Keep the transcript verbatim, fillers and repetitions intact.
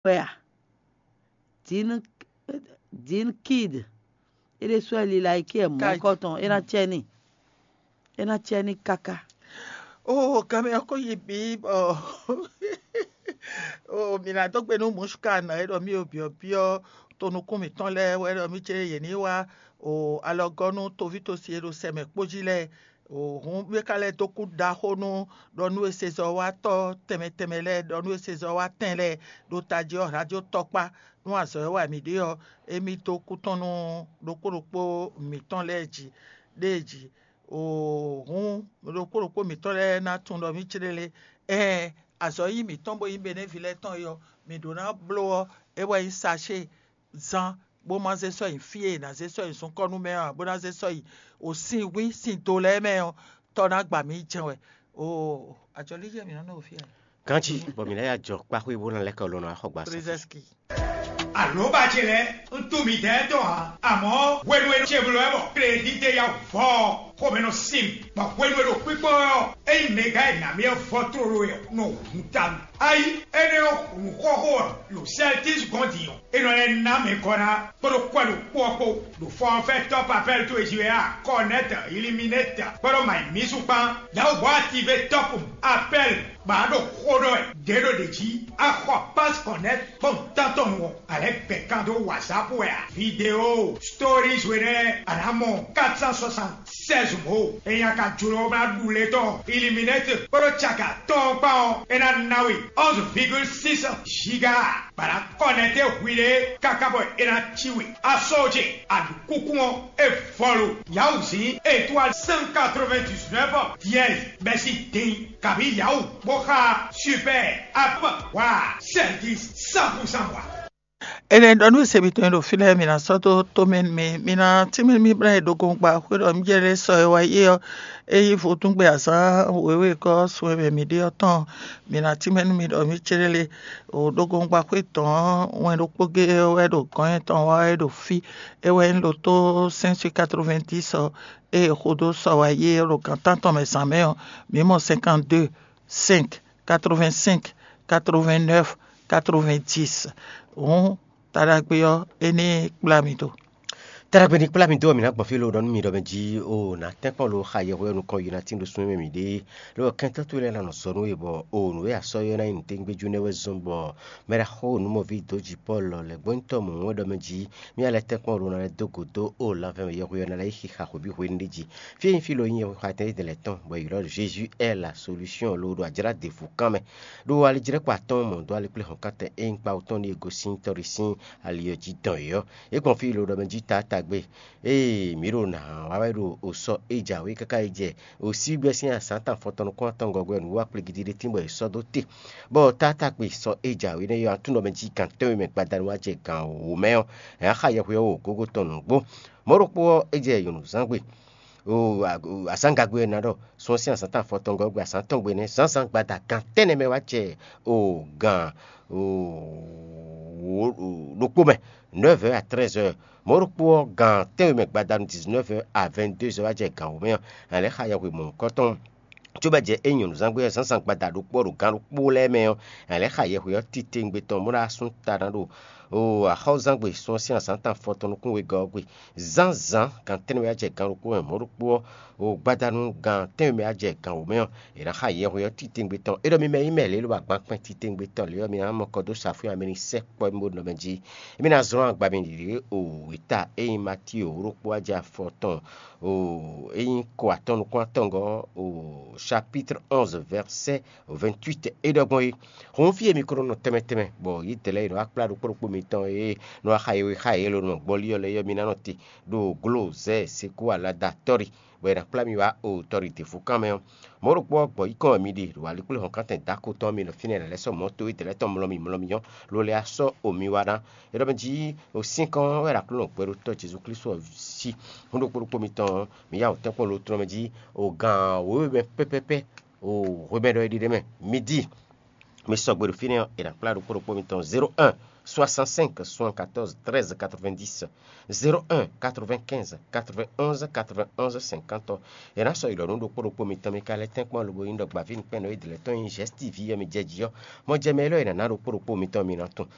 Wɛ a? Din Din Kid, é ɖésú wɛ lila yi kí ɛ mɔ̌ kɔ́ tɔn, é ná cɛ n'i. É ná cɛ n'i káká. Oo, kanmɛ ɔ́ ko yi bǐ bɔ oo, mǐ ná dó gbe nú Mushkan e ɖɔ mì o byɔ̌byɔ́ to nukún mǐtɔn lɛ́ɛ wɛ ɖɔ mì cé yě ní wá o alɔgɔ́ nú toví tosi e ɖo sɛ mɛ kpó jí lɛ́ɛ. Hǔn é ka lɛ́ dó kú ɖaxó nú ɖɔ nú e sezɔ́watɔ́ tɛnmɛ tɛnmɛ lɛ́ɛ, ɖɔ nú e sezɔ́watɛn lɛ́ɛ ɖo tají ɔ́, radio tɔkpá nú azɔ̌ e wa mǐ ɖe ɔ́, émí dó kú tɔn nú ɖokpó ɖokpó mǐtɔn lɛ́ɛ jí ɖée jí. Hǔn ɖokpó ɖokpó mǐtɔn lɛ́ɛ ná tunwun ɖɔ mǐ céɖélé. Ɛɛn, azɔ̌ nyí mǐtɔn bó nyí Benɛ́vi lɛ́ɛ tɔn é ɔ́, mǐ ɖó ná bló ɔ́, é wɛ nyí sachéé zán bó má zé sɔ́ nyi fí e è nǎ zé sɔ́ nyi zunkɔ́nú mɛ ɔ́, bó ná zé sɔ́ nyi o sin hwí sin do lɛ́ɛ mɛ ɔ́, tɔ́ ná gba mǐ jɛ́n wɛ. Oo, ajɔlíjɛ mǐ nɔ nɔ fí a? Ganjí bɔ mǐ ná yi ajɔ kpáxwé bó ná lɛ́ kɔ lɔ nɔ axɔgba sɔ́. Prezɛski. Alǒba ce lɛ́ɛ, un tunwun midɛɛ tɔn ǎ, amɔ̌ hwenu e ce bló wɛ bɔ kledíte ya vɔ ɔ́, xomɛ nɔ sin mì, bɔ hwenu e ɖo kpíkpɔ́n wɛ ɔ́, ényí mɛgán e nǎ mì ɔ́ vɔ tlóló wɛ ɔ́, nɔ hun ta mì. Ayi, énɛ́ ɔ́, nǔxɔxó ɔ́, ɖo Sɛltis gɔ́n din ɔ́, é nɔ lɛ́ ná mɛ gɔ́ ná kpódó kwɛ́ ɖokpó ɔ́ kpó, ɖo fɔ́nfɛ́ tɔ́ papɛ́l towe jí wɛ a, Kɔnɛ́t, Iliminɛ́t, kpódó Mayimísu kpán, Yawuhɔ́ Ative tɔ́pun, Apɛ́l, bɔ a ɖo xó ɖɔ wɛ ɖě ɖo ɖě jí, a xɔ Pás Kɔnɛ́t kpɔ́n tántɔn nu ɔ́, a lɛ́ gbɛ kan dó WhatsApp wɛ a? Video, stories we nɛ́ a nǎ mɔ quatre cent soixante-seize mǒ. Ényí a ka jló ná ɖu lě tɔn Iliminɛ́t kpódó caki atɔ́ɔ́n kpán ɔ́, é ná ná we onze virgule six giga, bɔ a nǎ kɔnɛ́te hwiɖée káká bɔ é ná cí we. A sɔ́ ce, a ɖu kúkú ɔ́, é vɔlu. Yawuzǐn étoile cent quatre-vingt-dix-neuf dièse bɛ́ sín din kabǐ Yawu bó xá super app wa service cent pour cent wa. Énɛ́ ɖɔ nú se mitɔn e ɖo fí lɛ́ɛ, mi ná sɔ́ dó tomɛ nú mì, mi ná tínmɛ nú mì bla e ɖo gɔngba xwé ɖɔ mì jɛ lɛ́ sɔ e wá yi ɔ́, é yí vodúngbe azǎn wěwe gɔ́ sun e mɛ mǐ ɖe ɔ́ tɔn. Mi ná tínmɛ nú mì ɖɔ mì céɖélé o ɖo gɔngba xwé tɔn ɔ́, wɛn ɖokpó géé ɔ́ wɛ ɖo gɔ̌n nyɛtɔn wa wɛ ɖo fí. É wɛ nyí lotó cinq cent quatre-vingt-dix ɔ́, ée xo dó sɔ wá yi é ɖo gan tántɔn mɛ zǎn mɛ ɔ́, mǐ mɔ cinquante-deux, cinq, quatre-vingt-cinq, quatre-vingt-neuf, quatre-vingt-dix. Hǔn taɖagbe ɔ́, é ní kplá mi do. Taɖagbe ní kplá mi dó ɔ́, mǐ ná gbɔn fí lo ɖɔ nú mi ɖɔ mɛ jí o nǎ tɛ́nkpɔ́n lo xa yɛhweɔ́ nukɔn yi ná tín ɖo súnmí mɛ mǐ ɖe. Lɔ kɛntɔ́ towe lɛ́ɛ ná nɔ zɔ nú we bɔ o nǔ e a sɔ́ ylɔ́ ná nyí nǔtɛ́ngbéjú nɛ́ wɛ zɔ́n bɔ mɛ ɖaxó nǔmɔví dǒ ji Pɔ́lu lɛ́ gbɔ́nyitɔ́ mɔ̌hun wɛ ɖɔ mɛ jí mì a lɛ́ tɛ́nkpɔ́n lo ná lɛ́ dó gǔdo o lanvɛ́ mɛ yɛhweɔ́ ná lɛ́ yi xixa hweví hwenu ɖé jí. Fí e nyí fí lo nyí yɛhwexa tɛn édɛn lɛ́ tɔn bɔ è ylɔ́ Jézu ɛ́ la solúsyɔ́n lo ɖo ajlá ɖěvo kán mɛ. Ɖó alijlɛ́kpa tɔn mɔ dó alíkplé hɔn kántɛn e nyí kpawú tɔn ní e gosín tɔ́ɖi sín ali ɔ́ jí dɔn yě ɔ́, é gbɔn fí lo ɖɔ mɛ jí taátagbe. Ée mǐ ɖo nǎ wa wɛ ɖo osɔ e jǎwe káká yi jɛ osígbɛ́ sín azǎn tɔn afɔtɔn nukún atɔngɔ́ wɛ nǔwiwa kplégídí ɖé tín bɔ è sɔ́ dó te. Bɔ taátagbe sɔ e jǎwe nɛ́ ɔ́, atúnɔ mɛ jí gan tɛ́nwe mɛ gbadanu wá jɛ gan wǒ mɛ ɔ́, è nǎ xa yɛhweɔ́ wǒ gógó tɔn nǔgbó. Mɔ̌ ɖokpó ɔ́, é jɛ nyɔ̌nuzángbe. O azǎngagbe ɔ́ ná ɖɔ sun ɔ́ sín azǎn tɔn afɔtɔngɔ́ gbe azǎn tɔn gbe nɛ́ zǎnzǎn gbada gan tɛ́nnɛ mɛ wá jɛ o gan ɖokpó mɛ, neuf heures à treize heures. Mɔ̌ ɖokpó ɔ́, gan tɛ́nwe mɛ gbadanu dix-neuf heures à vingt-deux heures wá jɛ gan wǒ mɛ ɔ́, a lɛ́ xa yɛhwe mɔ̌hunkɔtɔn. Cóbɔ jɛ é nyɔ̌nuzángbe ɔ́ zǎnzǎn gbada ɖokpó ɔ́ ɖo gan ɖokpó lɛ́ɛ mɛ ɔ́, a lɛ́ xa yɛhwe ɔ́ titewungbe tɔn bó ná sú ta ná ɖo axɔ́zán gbe sun ɔ́ sín azǎn tɔn afɔtɔn nukún wegɔ́ ɔ́ gbe. Zǎnzǎn gan tɛ́nnɛ mɛ wá jɛ gan ɖokpó mɛ mɔ̌ ɖokpó ɔ́, o gbadanu gan tɛ́nwe mɛ wá jɛ gan wǒ mɛ ɔ́, è nǎ xa yɛhwe ɔ́ titewungbe tɔn. É ɖɔ mi mɛ nyí mɛ lě lo agban kpɛn titewungbe tɔn lě ɔ́, mi ná mɔ kɔ dó safú ame ní sɛkpɔ́ mì bó nɔ mɛ jí. Émí ná zlɔ́n agba mi ɖiɖě o wěta e nyí Matío wǒ ɖokpó wá jɛ afɔ tɔn o é nyí ko atɔn nukún atɔngɔ́ o chapitre onze verset vingt-huit é ɖɔ gbɔn é. Hǔn fí e mi ko nɔ nɔ tɛnmɛ tɛnmɛ bɔ yědɛɛ lɛ́ɛ e nɔ wá kplá ɖokpó ɖokpó mitɔn e nɔ wá xa yɛhwe xá yě lǒ nɔ gbɔlí ɔ́ lɛ́ɛ ɔ́, mi ná nɔ te ɖo glozɛ́ɛ sekú alada tɔ́ɖi, bɔ è nǎ kplá mi wá o tɔ́ɖi děfúkan mɛ ɔ́. Mɔ̌ ɖokpó ɔ́, gbɔ̌ yí kɔn wɛ mi ɖe ɖo alikpléhɔ̌nkántɛn dǎko tɔn ɔ́, mi nɔ fínɛ́ lɛ̌ sɔ́ mɔ̌ towe dɛ̌ lɛ́ɛ tɔn mlɔ́ mi mlɔ́ mi ɔ́, lo lɛ́ á sɔ́ o mi wá ná. É ɖɔ mɛ jí o sín kɔn wɛ ɖo Aklúnɔ gbɛɖótɔ́ Jezu Klísu ɔ́ sí. Hǔn ɖokpó ɖokpó mitɔn ɔ́, mi yá wǒ tɛ́nkpɔ́n lo tlɔ́n mɛ jí o gǎn wěwe mɛ pɛ́pɛ́pɛ́ o hwemɛ ɖɔ é ɖiɖe mɛ. Mi di Mi sɔgbe ɖo fínɛ́ ɔ́, è nǎ kplá ɖokpó ɖokpó mitɔn zéro un soixante-cinq soixante-quatorze treize quatre-vingt-dix, zéro un quatre-vingt-quinze quatre-vingt-onze quatre-vingt-onze cinquante. È nǎ sɔ́ yi ɖɔ nú ɖokpó ɖokpó mitɔn mi ka lɛ́ tɛ́nkpɔ́n lobo nyí ɖɔ gbǎví nukpɛ́nnɔ e dlɛ̌ tɔn nyí Zɛ̌stíví ɔ́ mi jɛ jí ɔ́, mɔjɛmɛ élɔ́ è nǎ ná ɖokpó ɖokpó mitɔn mi ná tunwun.